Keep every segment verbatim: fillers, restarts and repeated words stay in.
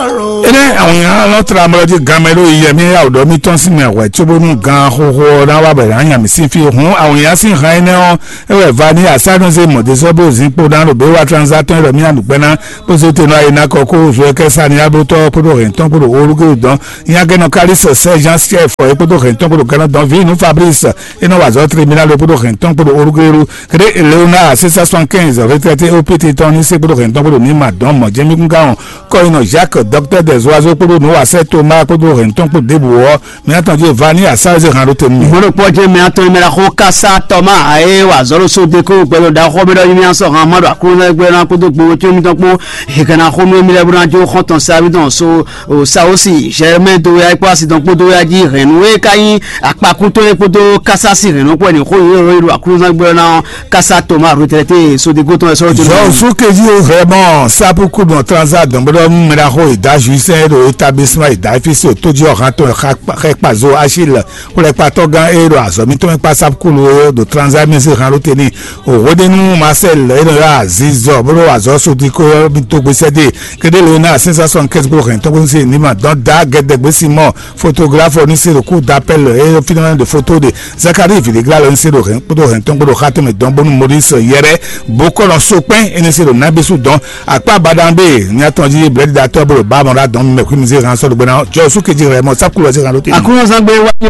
Énɛ́ awǐnnya lɔ́ tlá mlɔ́ jí ganmɛ ɖó yiyɛ mì yá wǔ ɖɔ mì tɔ́n sín mɛ hwɛ̌ cóbónú gan xóxó ɔ́ ná wá bɔ è nǎ nya mì sín fí. Hǔn awǐnnya sín han énɛ́ ɔ́, é wɛ va ní asánúzé mɔ̌dézɔ́ bó zín kpo ná ɖo běwa tranzatɔ́n e ɖɔ mì nǎ ɖu gbɛ́ ná bó zé te nɔ ayé ná kɔ kó zo kɛ́sá ní abótɔ́ kpódó hɛ̌ntɔ́n kpódó olúgéwu dɔn nyagɛnɔ kalísɔ sɛ́ jean siɛfɔ é kpódó hɛ̌ntɔ́n kpódó gánɔ dɔn vǐ nú fabrice é nɔ wa azɔ̌ tribunal é kpódó hɛ̌ntɔ́n kpódó olúgéwu. Kede Léonard six cent soixante-quinze retraité O P T tɔn ní sɛ́ kpódó hɛ̌ntɔn kpódó ní ma dɔn mɔ̌ jɛ́mí kún ká wɔn kɔyinɔ Jacques, docteur des oiseaux kpódó nǔwasɛ́ Thomas kpódó hɛ̌ntɔn kpó ɖěbǔ ɔ́, mǐ atɔn jí va ní asá e zé han ɖó te nú mì. Mɔɖokpɔ́ jɛ́n mɛ atɔn e mɛ ɖaxó kásá tɔmá ayé wà zɔ́ ɖo sóde kó gbɛɖo ɖaxó mɛ ɖɔ nyí mì asɔ han ma ɖo aklúnɔ gbɛɖo ná kpódó gbowó có mítɔn kpó hegana xó nú émí lɛ́ɛ bó ná jó xɔ́ntɔn sábí tɔn so Saosi Germain dó ya kpó asi tɔn kpó dó ya jí hɛn nú é ka nyí akpakúntɔ́ é kpódó kásá sí hɛn nú kpó ɛnì xó yě ɖo aklúnɔ gbɛɖo ná kásá tɔmá retraité sóde kó tɔn ɛ sɔ́ tó. Jɔsú kejì ó vraiment sapu kudu transa dɔn bó ɖɔ mɛ ɖaxó ìdá juisɛn ɖo établissement ìdá éfisio tójí ɔ̀hántɔn xɛkpazo achille xwlɛkpatɔ́ gán e ɖo azɔ̌ mítɔn mɛ kpá sapu kulu e ɖo transa mɛsí han ló teni òhwedenu marcel e nɔ yɔ azizɔ bó ɖo azɔ̌ sodiko ɔ́ mító gbèsè dé. Kedéle ná sensation kɛsí kúrò hɛn tɔ́gbó sí ní ma dɔn dá gɛdɛgbé simɔ photographe ní se ɖo kú d'appel e finimɛ de photo de Zacharie Vidigla lɔ ní se ɖo hɛn kpódó hɛn tɔn kpódó xatɛmɛ dɔn bónú Maurice yɛrɛ bó kɔ nɔ so kpɛn é ní se ɖo nábísú dɔn akpá baɖan ɖe ní atɔn jí blɛ̌ɖiɖatɔ́ bó ɖo ba mɔ ɖa dɔn mɛ xwí mi zé hàn sɔ́ ɖo gbɛ́ ná jɔ sú kejì rɛ mɔ sákúlɔ zé hàn ló tɛ. Àkúnlọ́sán gbé wáyé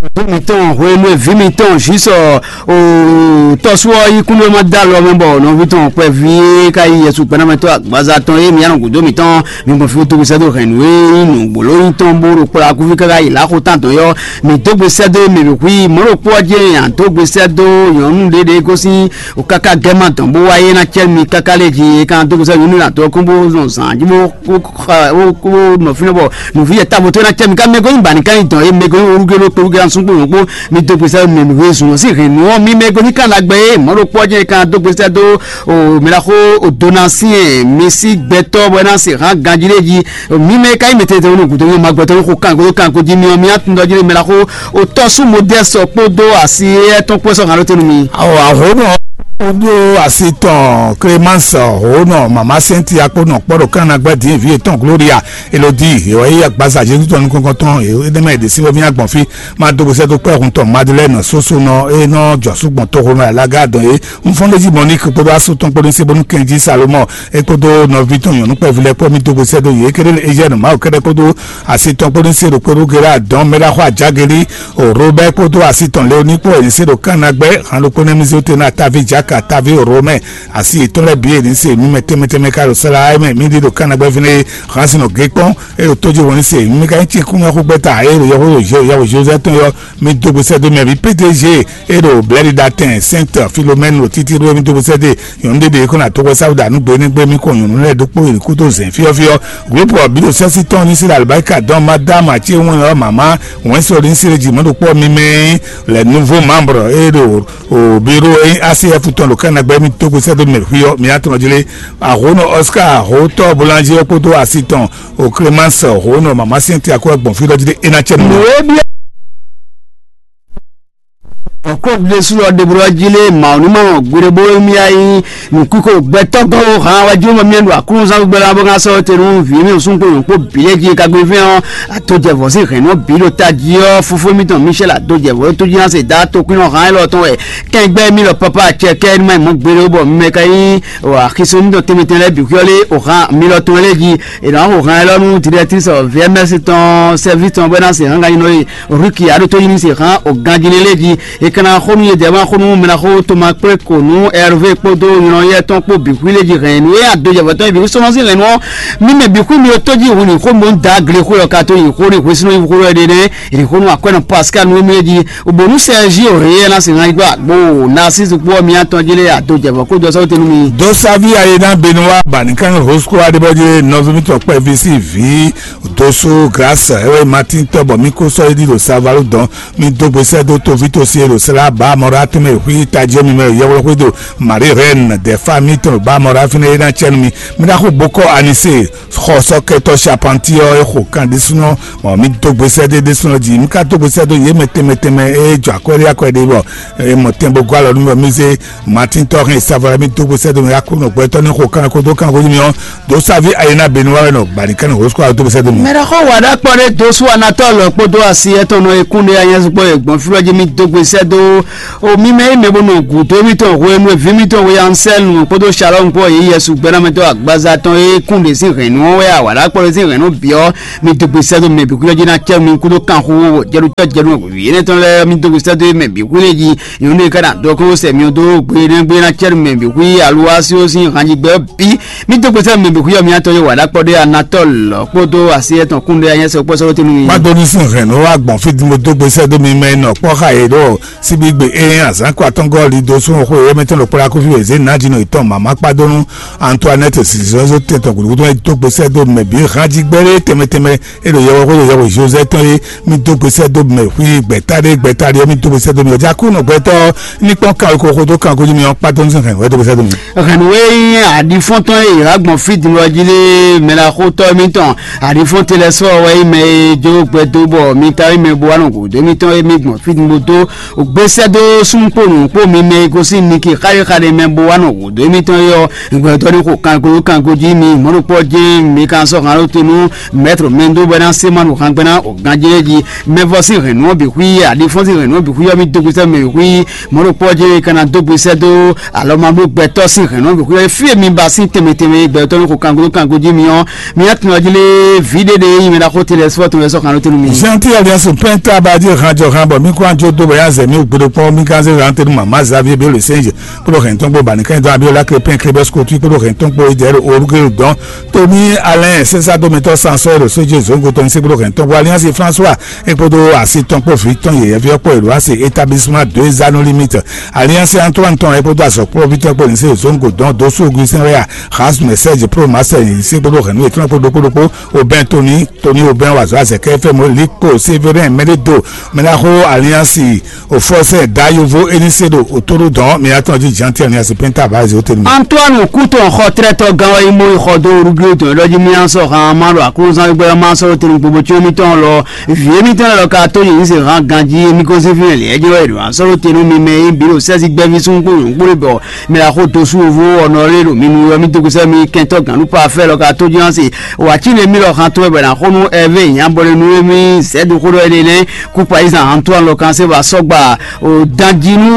ọdún mi tán òwe inú èví mi tán òṣìṣọ́ tọ́sú ọyí kúndé ọmọ dá lọ mẹ bọ ọ̀nà òbí tán pẹ́ fi ká yí yẹsù pẹ́nàmẹ́tọ́ àgbàzá tán yé mi yànnà gòdó mi tán mi gbọ̀n fi tó sẹ́dọ̀ hẹ̀nú é nù gbòló yín tán bó ro kpla kúfí káká yìí láko tán tán yọ mi dógbe sẹ́dọ̀ mi bì kú yìí mọ́rò kpó ọjẹ́ yàn dógbe sẹ́dọ̀ yọ̀nù dédé kó sí o káká gẹ́mà tán bó wáyé ná cẹ́ mi káká lé jí kan dógbe sẹ́dọ̀ yọ̀nù nà tó kún bó zɔn zàn jí bó kó nɔ fínɛ bɔ nɔví yɛ tábò tó ná cɛ mi ká mɛgɔ́ yín bani ká yín dɔn yé mɛgɔ́ yín orúkọ ló kpolú gán súnkpó yɔn kpó mi dó gbèsè mɛ mi wé zùn sí hɛn nú ɔ́ mi mɛgɔ́ yín kan lágbẹ́ yé mɔ̌ ɖo kpɔ́ jẹ́ kan dó gbèsè dó o mìlá xó o dona sí ɛ mi sí gbɛtɔ bɔ ná se hàn ganjí lé jí mi mɛ ká yín mɛ tɛtɛ wọn gùdó yín ma gbɛtɔ yín xó kan kó kan kó jí mi ɔ mi atúndɔ jí lé mìlá xó o tɔ́sú modɛsɔ kpódó asi éyɛ́ tɔn kpó sɔ hàn ló tɛnu mi. Awɔ ahónú ɔ́ kpódó asi tɔn Clémence ahónú mama Cynthia kpó nɔ kpɔ́ ɖo kánnagbá dín vǐ yětɔn Gloria Elodie yě wá yí agbaza Jezu tɔn nukɔn tɔn yě énɛ́ mɛ yě ɖe sí wɛ mì agbɔn fí má dó gbèsè dó kpɛ́ hun tɔn Madeleine soso nɔ é nɔ jɔ súgbɔn toxo nɔ alaga dɔn yě. Nfɔ́n ɖé jí Monique kpódó asú tɔn kpódó sí bónú kɛnjí Salomon é kpódó nɔví tɔn nyɔ̌nu kpɛví lɛ́ɛ kpó mì dó gbèsè dó yě kéɖé Eugène Mawu kɛ́ɖɛ́ kpódó asi tɔn kpódó sí ɖo kpódó Gérard dɔn Mɛɖaxɔ Ajageli o Robert kpódó asi tɔn Léonie kpó ɛ̀yìn sí ɖo kánnagbɛ́ han ɖokpó nɛ́ mì zé wú te ná Taví Jaka Taví Romain asi yětɔn lɛ́ɛ bǐ e ní se mì mɛ tɛnmɛ tɛnmɛ ka ɖo sala ayé mɛ mì ɖi ɖo kánnagbɛ́ fínɛ́ hǎn sin nɔ gé kpɔ́n e ɖo tójú wɔn ní se mì ka nyí cínkúnmɛ xúgbɛ́ta e ɖo yɔxó ɖo yɛwò Joseph tɔn yɔ mì dó gbèsè dó mɛ bǐ P D G e ɖo blɛ̌ɖiɖatɛn Sainte Philomène ɖo títí ɖó mì dó gbèsè dé nyɔ̌nu ɖé ɖe kó ná tó xwɛ sáwùdà nú gbe ní gbé mì kɔ nyɔ̌nu lɛ́ɛ ɖokpó yi kúdó zɛ̌n fyɔ́fyɔ́ groupe ɔ́ bǐ ɖo sɛ́sítɔ́ ní se ɖo alibáríkà dɔn Madámu Atíewɔn ɔ́ mama wɛ̌nso ɖo ní se ɖe jǐ mɔ̌ ɖokpó ɔ́ mimɛ lɛ nouveau membre e ɖo o biro e asi F tɔn ɖo kɛnɛgbɛ mi to gbèsè do mɛ xuyɔ mi atɔn jlé ahono Oscar ahotɔ boulanger kpódó asi tɔn o Clémence ahono mama siɛn ti akɔ gbɔn fi lɔ jí ɖe ena cɛ nù. Nǔ e byɔ́ ɔkɔ́ ɖésú lɔ ɖeblɔ jí lé mawǔ ní ma wɔn gbeɖé bó émí ayí nǔkúkú gbɛtɔ́ gɔ́ hàn wájú mɔ miɛ ɖo aklúnúzán gbɛlá bó ká sɔ́ te nú vǐ mi sún kpo nyɔ̌kpó bǐ lé jí kagbéfín ɔ́. Adójɛvɔ́ sín hɛ̌nnɔ bǐ ɖo tají ɔ́, fofó mítɔn Michel adójɛvɔ́ tó jí ná se dá tokwínnɔ hán élɔ́ tɔn wɛ kɛngbɛ́ mí lɔ pápá acɛ kɛ ní má yi mɔ̌ gbeɖé bɔ mɛ ka nyí axisó mítɔn tɛnmɛtɛn lɛ́ɛ bǐ xyɔ́ lé o hán mi lɔ tɔn lɛ́ɛ jí. È nǎ xo hán élɔ́ nú directrice V M S tɔn service tɔn bɔ é ná se hán ganyinɔ e Ruki aɖó tó nyí ní se hán o ganjínɛ lɛ́ɛ jí. È ka ná xó nú yědɛɛ má xó nú mɛ ná xó Toma kplé kò nú Hervé kpódó nyɔ̌yɛ tɔn kpó bǐ xwí lé jí hɛn nú é adójɛvɔ́ tɔn bǐ xwí sɔ́nɔ́ sín hɛn nú ɔ́. Mí mɛ bǐ xwí mi ɔ́ tó jí hun ní xó mɔ da gle xwé ɔ́ ka tó yi xó ní hwesínú yi xó ɖé nɛ́. È ní xó nú akwɛ́nɔ Pascal nú émí é jí. Bònú Sergio Reyes ná sì hán yi gbɔ àgbo Narcisse kpó ɔ́ mi atɔn jí lé adójɛvɔ́ kó jɔ sɔ́ tɛnu mi. Dó sáví ayé ná benu wá bà ní kán Rosco adébọ́jé nɔví mítɔn kpɛ́ ví sí ví dóso grâce ewé Martin tɔbɔ mí kó sɔ́ é ɖi ɖo Savalu dɔn mí dó gbèsè dó tóví tó sí é ɖo Sela ba mɔra tɛmɛ hui tajiɔ mi mɛ yɛwlɔ xwedo Marie Reine de famille tɔn ba mɔra fine e na cɛnu mi. Mi na xo bokɔ anise xɔsɔkɛtɔ Charpentier ɔ e xo kan ɖésúnɔ. Mɔ mi dó gbesɛ ɖé ɖésúnɔ jí, mi ka dó gbesɛ ɖó yě mɛ tɛnmɛ tɛnmɛ e jɔ akwɛɖé akwɛɖé bɔ e mɔ tɛn bó gɔ́ alɔ nú bɔ mi zé Martin tɔ hɛn savɔlɛ mi dó gbesɛ ɖó mi Aklúnɔ gbɛtɔ́ ní xo kan ko dó kan ko jí mi ɔ́, dó sáví ayé ná benu wa wɛ nɔ gbani kan ní hosukɔ dó gbesɛ ɖó mi. Mɛɖexɔ wa ɖakpɔ ɖé dó sú anatɔ lɔ kpódó asi etɔn nɔ ekún ɖé anyɛsukpɔ e gbɔn fí wɛ jí mi dó gbesɛ ɖó. O mi mɛ yi mɛ bó nɔ gǔdo mitɔn hwenu e vǐ mitɔn we Ansɛlu kpódó Shalɔm kpó yi Yɛsu gbɛ́nɔmɛtɔ́ agbaza tɔn e kún ɖě sín hɛ̌nnu ɔ́ wɛ a wǎ ɖó akpɔ́ ɖé sín hɛ̌nnu byɔ́ mi dó gbe sɛ́ dó mɛ bǐ xwí ɔ́ jí ná cɛ́ mi kúdó kanxu jɛɖucɔ́ jɛɖu vǐ énɛ́ tɔn lɛ́ɛ mi dó gbe sɛ́ dó mɛ bǐ xwí lé jí. Nyɔ̌nu e ka ná dó kɔn sɛ mi dó gbe énɛ́ gbe ná cɛ́ mi mɛ bǐ xwí aluwá sí ó sín hanjigbɛ ɔ́ bǐ. Mi dó gbe sɛ́ mɛ bǐ xwí ɔ́ mi atɔn yé wǎ ɖó akpɔ́ ɖé anatɔ́l kpódó asi etɔn kún ɖé anyɛ́sɛ kpɔ́ sɔ́ tɛ́ nú mi. Má dó ní sín hɛ̌nnu wá gbɔn fí din bó dó gbe sɛ́ dó mi mɛ nɔ kpɔ́ xa yě ɖo síbígbe e azǎn kɔ atɔ́ngɔ́ li dó súnnu xwe wɛ́mɛtɔn ɖo kplá kúfí wězé nǎjínɔ yětɔn mǎmá kpá dó nú Antoinette zǐzɔ́zó tɛn tɔn gǔdo gúdo tɔn e dó gbe sɛ́ dó mɛ bǐ hán jí gbɛ́ɖé tɛnmɛ tɛnmɛ e ɖo yɛwɛ xwé ɖo yɛwɛ Joseph tɔn é. Mi dó gbe sɛ́ dó mɛ xwí gbɛ̀táɖé gbɛ̀táɖé ɔ́, mi dó gbe sɛ́ dó mi ɔ́, já kú nɔ gbɛtɔ́ ní kpɔ́n kan ko xó dó kan ko jí mi ɔ́, kpá dó nú sɛn hɛn wɛ dó gbe sɛ́ dó mi. Hɛn nǔ e nyí aɖifɔ́ntɔn e yě wá gbɔn fí din ɔ́ jí lé mɛ la xótɔ́ mitɔn aɖifɔ́n te lɛ́ɛ sɔ́ wɛ nyí mɛ e jó gbɛ dó bɔ mi ta nyí mɛ bo wá nɔ gǔdo mitɔn e mi gbɔn fí din bó dó gbésɛ́ dó súnnu kpó nǔ kpó mi mɛ e gosín Niki xáɖéxáɖé mɛ bo wá nɔ gǔdo mitɔn é ɔ́, gbɛtɔ́ ní xo kanko kanko jí mi mɔ̌ ɖokpɔ́ jɛ́n mi kan sɔ́ hǎn ɖó te nú mɛtro mɛ dó bɔ é ná sé ma ɖo hangbe ná o ganjé jí. Mɛvɔ sín hɛ̌nnu ɔ́ bǐ xwí aɖifɔ́n sín hɛ̌nnu ɔ́ bǐ xwí ɔ́ mi dó gbésɛ́ mɛ bǐ xwí mɔ̌ ɖokpɔ́ jɛ́n é ka ná dó gbésɛ́ dó alɔ ma bló gbɛtɔ́ sín hɛ̌nnu ɔ́ bǐ xwí ɔ́ fí e mi ba sín tɛnmɛ tɛnmɛ gbɛtɔ́ ní xo kanko kanko jí mi ɔ́, mi ná tunwun jí lé vǐ ɖé ɖé yi mɛ ɖaxó te lɛ́ɛ sɔ́ tɔn lɛ́ɛ sɔ́ hǎn ɖó te nú mi. Jean Pierre Liasso pɛnta abadí hàn jɔ hàn bɔ mi kó anjo dó bɔ yá zɛ mi gbé ɖokpɔ́n mi gán zé hàn tɛnu mama Xavier Bello Senge kpódó hɛn tɔn gbó bani kɛn dɔn Abiola Crépin Clébert Scotty kpódó hɛn tɔn gbó Idɛr Orugelo dɔn Tony Alain César Domitɔ Sansɔ Elo Sege Zongo tɔn se kpódó hɛn tɔn gbó Alliance François e kpódó asi tɔn kpó vi tɔn yeyɛvi ɔkpɔ elo asi établissement deux anneaux limite Alliance Antoine tɔn e kpódó azɔkpɔvi tɔn kpó ní se Zongo dɔn Dosu Augustin Rea Rasmus Serge Pro Marcel se kpódó hɛn nú etɔn kpó ɖokpó ɖokpó Aubin Tony Tony Aubin wazɔ azɛkɛ fɛ mo Likpo Sévérin Mɛɖedo Mɛɖaxó Alliance Ofɔsɛ da yovo eni se ɖo otoro dɔn mi atɔn jí Jean Pierre Niasse penta ba ezi otenu. Antoine Couton xɔ trɛtɔ gán wɛ imo xɔ dó ruglo dɔn ɖɔ jí mi ansɔ han ma ɖo aklúzán gbɛ ma sɔ tenu gbogbo tí mi tɔn lɔ vie mi tɔn lɔ ka tó yin se han ganji mi ko se fi lɛ jɔ e ɖo asɔ tenu mi mɛ yi bi ɖo sɛzi gbɛvi sun kpo yun kpo bɔ mi la xo to su vo ɔnɔ le ɖo mi nu yɔ mi dogo sɛ mi kɛntɔ ganu pa fɛ lɔ ka tó jí se wa tí le mi lɔ han tó bɛ na xo nu ɛvɛ nya bɔ le nu mi zɛ do xo ɖɔ e le nɛ Kúkpa yí zan Antoine lɔ kan se va sɔgba o danjinu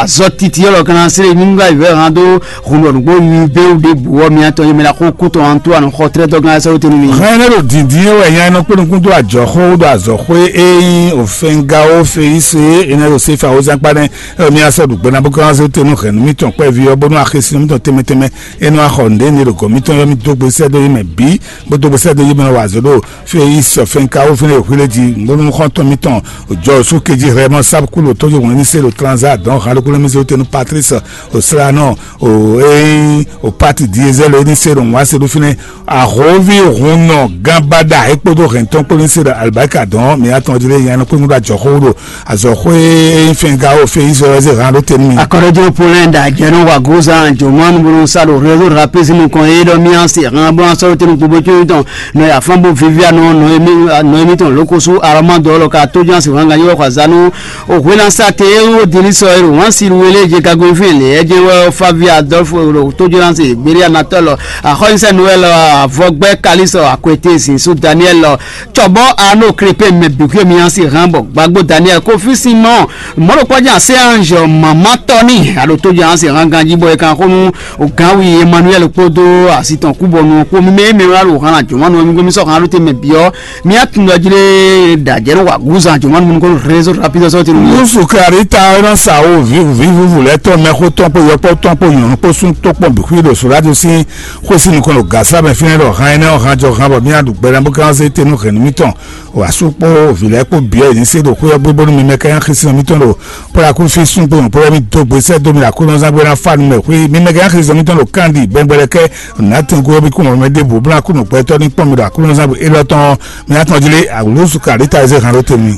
azɔ titi lɔ kan se le nyunga yi vɛ han do hun lɔ nugbo yi be o de bu wɔ mi atɔ yemɛ la ko kutɔ Antoine xɔ trɛ dɔ gan sɛ o tenu mi. Hɛn ne ɖo dindin ye wɛ nya nɔ kpɔnɔ kún do ajɔ xó do azɔ xó e yin o fɛnga o fe yi se e ne ɖo sefa o zan kpa nɛ e mi asɔ ɖu gbɛna bó kan se o tenu hɛn mi tɔn kpɛ vi ɔ bónú axesi mi tɔn tɛmɛ tɛmɛ e nɔ axɔ nde ne ɖo gɔ mi tɔn yɔ mi do gbe sɛ do yi mɛ bi bó do gbe sɛ do yi mɛ wa zo do Fiyis Fɛnkawo fɛnɛ e hwilé jí ngbónú xɔ́ntɔn mitɔn jɔ sú kejí hlɛ́mɔ sábkúlu tójú ŋwɛ́ ní se ɖo tranza dɔn hǎn ɖokpó lɛ́ mɛ zé wú tɛnu Patrice Oslanɔ o ée o pati Diesel é ní se ɖo wǎn se ɖó fínɛ́ ahǒví hun nɔ gán báɖa é kpódó hɛn tɔn kpó ní se ɖo alibarika dɔn mǐ atɔn jí lé nya nɔ kpé ŋúɖa jɔxó ɖo azɔxó e nyí Fɛnkawo Fiyis ɔ́ zé hǎn ɖó tɛnu mì. Akɔɖɔjɔ Poland ajɛnɔ wa gozan jɔmɔnu bolo sa ɖo réseau rapide nukɔn e ɖɔ mía se hàn bɔ asɔrɔ tenu gbogbo tso tɔn nɔ ya fɔn bo vivia nɔ nɔ emi nɔ emi tɔn loko su arama dɔ lɔ ka to jan se hàn ganyo wa za nu o hwena sa te o dili sɔ ero wan si wele je gago fi le e je wɛ Favi Adolfo ro to jan se gberi anatɔ lɔ axɔnisa Noel avɔgbɛ kalisɔ akwete sin su Daniel lɔ tsɔbɔ ano krepe mɛ bikwe mía se hàn bɔ gbagbo Daniel kofi sin mɔ mɔɖokpɔ́jɛ ase ange mama tɔni alo tó jɛ ase hàn ganji bɔ e kan xó nú o gánwi Emmanuel kpódó asi tɔn kúbɔnu kpó mímɛ mímɛ wá ɖo hàn jɔmɔnu mi gbé mi sɔ hàn ló te mɛ biɔ mi atundɔ jlé dajɛ nɔ wa gúzan jɔmɔnu mi kɔnɔ réseau rapide sɔ tenu. Musu karita ɔnɔ sa wo vivuvivu lɛ tɔn mɛ xó tɔn kpó yɔkpɔ tɔn kpó nyɔnu kpó sún tó kpɔn bixwi ɖo sòlájú sín xwé sí nukɔn ɖo gasa mɛ fínɛ ɖɔ hàn énɛ́ ɔ́ hàn jɔ hàn bɔ mi aɖu gbɛɖɛ bó gán zé tenu hɛn nú mi tɔn. Wǎ sú kpó vǐ lɛ́ɛ kpó bǐ wɛ yě ní se ɖo xwé ɔ́ gbé bónú mi mɛ ká nyí Xisiɔn mítɔn ɖo Pɔ́lakúfí sún kpo nyɔ̌kpɔ́ wɛ mì dó gbe sɛ́ dó mì ɖo Aklúnɔ zán gbé ná fá nu mɛ xwé mi mɛ ká nyí Xisiɔn mítɔn ɖo Kandi bɛngbɛlɛkɛ nǎtɛn gó ɔ́ bí kún mɔ mɛ ɖěbǔ bó ná kú nǔgbɛtɔ́ ní kpɔ́n mi ɖo Aklúnɔ zán gbé élɔ́ tɔn ɔ́ mi ná tɔn jí lé awǔlú su kàɖí ta e zé hǎn ɖó te mi.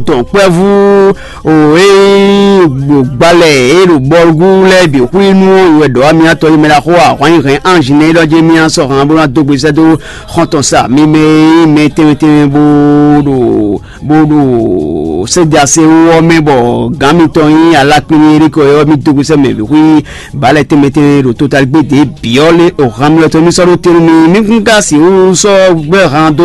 Dɔn kpɛvú o e gbalɛ e ɖo bɔlugú lɛ́ɛ bǐ xwí nú wɛ ɖɔ amyatɔ yi mɛ ɖaxó ahwan yi hɛn anzi nɛ ɖɔ jí mía sɔ hàn bó ná dó gbe sɛ́ dó xɔntɔn sa mi mɛ e nyí mɛ tɛnmɛ tɛnmɛ bó ɖo bó ɖo sɛ́dasɛ wú ɔ́ mɛ bɔ gǎn mitɔn nyí alákpín erikɔ ɔ́ mi dó gbe sɛ́ mɛ bǐ xwí balɛ tɛnmɛ tɛnmɛ ɖo totaligbé dě bǐ ɔ́ lé o hàn mi ɔ́ tɔn mi sɔ́ ɖó tɛnnu mi mi kún ka sixú sɔ́ gbɛ́ hàn dó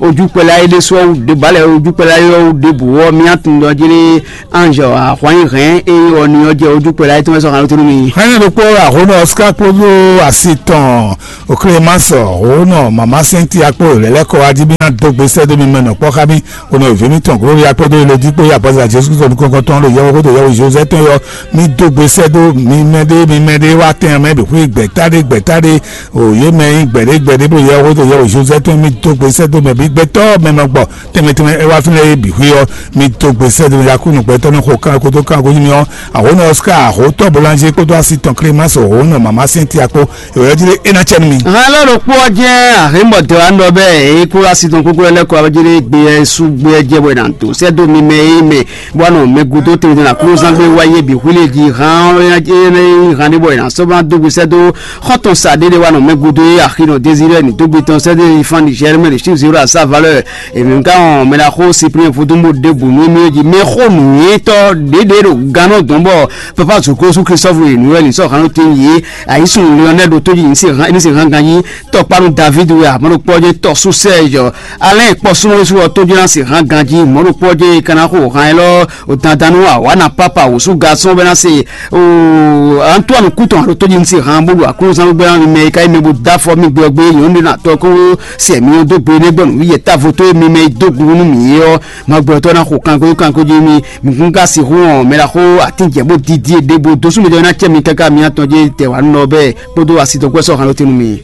ojúkpɛ́lá é ɖésú ɔ́ wú ɖé balɛ ojúkpɛ́lá é ɔ́ wú ɖěbǔ ɔ́ mía tunwun ɖɔ jí lé anzɔ ahwanyi hɛn eye ɔni ɔ́ jɛ ojúkpɛ́lá é tɔn wɛ sɔ́ hàn lótónú mi. Hɛn ɖokpó ahónɔ Oscar kpódó asi tɔn Clémence òhónɔ mama sɛnti akpó lɛlɛkɔ ajíbí ná dó gbe sɛ́ dó mi mɛ nɔ kpɔ́ xá mi. Ònà ìvé mi tɔn Gloria kpódó ilé dípò yá bọ́sà Jésù Kristu nukɔn tɔn ló yɛwó kótó yɛwó Joseph tɔn yɔ mi dó gbe sɛ́ dó mi mɛ ɖé mi mɛ ɖé wá tɛn mɛ bǐ xwé gbɛ̀tá ɖé gbɛ̀tá ɖé. Òye mɛ nyí gbɛ̀ɖé gbɛ̀ɖé bó yɛwó kótó yɛwó Joseph tɔn mi dó gbe sɛ́ dó mɛ bí gbɛtɔ́ mɛ nɔ gbɔ tɛnmɛ tɛnmɛ é wá fínɛ́ é bǐ xwé ɔ́ mi dó gbe sɛ́ dó yakúnu gbɛtɔ́ ní xo kán kótó kán kó nyí mi ɔ́. Àwòrán Oscar àhótọ́ Boulanger kpódó asi tɔn Clémence òhónú mama sɛnti akpó ìwé ɔ́ jí lé é ná cɛ nú mi. Hàn lɔ ɖokpó ɔ́ jẹ́ àhínbọ̀dé wa nɔ bẹ́ẹ̀ é kó asi tɔn kókó lɛ́ kó abájúdé gbé ɛ sú gbé ɛ jẹ́ bɔ ɛ nà tó sɛ́ dó mi mɛ é mɛ bó wà nɔ mɛ gúdó tɛnmɛ tɛnmɛ àkúrúzán gbé wáyé bǐ xwílé jí hàn ɔ́ hàn ní bɔ ɛ nà sɔ́ bá dó gbé sɛ́ dó xɔ́ntɔn sa ɖéɖé wà nɔ mɛ gúdó é àxínɔ Désiré ní dó gbé tɔn sɛ́ dé ifán ní Germain ní Chiv zéro à sa valeur. Èmi ká hɔn mɛ ná xó Cyprien Vodúnbó ɖěbǔ nú émí jí mɛ xó nǔnywɛ́tɔ́ ɖěɖě ɖo gannɔ dɔn bɔ papa zokrosu Christophe e nǔ wɛ ní sɔ hàn te yě ayisun Lionel ɖo tó jí ní se hàn ní se hàn ganjí tɔkpanu David wɛ amɔɖokpɔjɛ tɔsu Serge Alain kpɔsúnɔsú ɔ tó jí ná se hàn ganjí mɔɖokpɔjɛ kana xó hàn ɛ lɔ o dandan nú awana papa wòsú gasɔn bɛ ná se o Antoine kútɔn alo tó jí ní se hàn bó ɖo aklúzán gbɛ ná mi mɛ ka yi mɛ bó dá fɔ mi gbɛ gbé yɔn ní na tɔ kó sɛ mi dó gbe nɛ gbɔn nǔ yɛ távo tó mi mɛ dó gu nú mi ɔ́. Magbɔtɔ ná xo kanko kanko jí mi mi kún ka sixú ɔn mɛ la xó atín jɛ bó didi ɖe bó dó súnmí jɔ ná cɛ mi káká mi atɔn jí tɛ wà nɔ bɛ kpódó asi dɔgbɛ sɔ hàn ló tinu mi.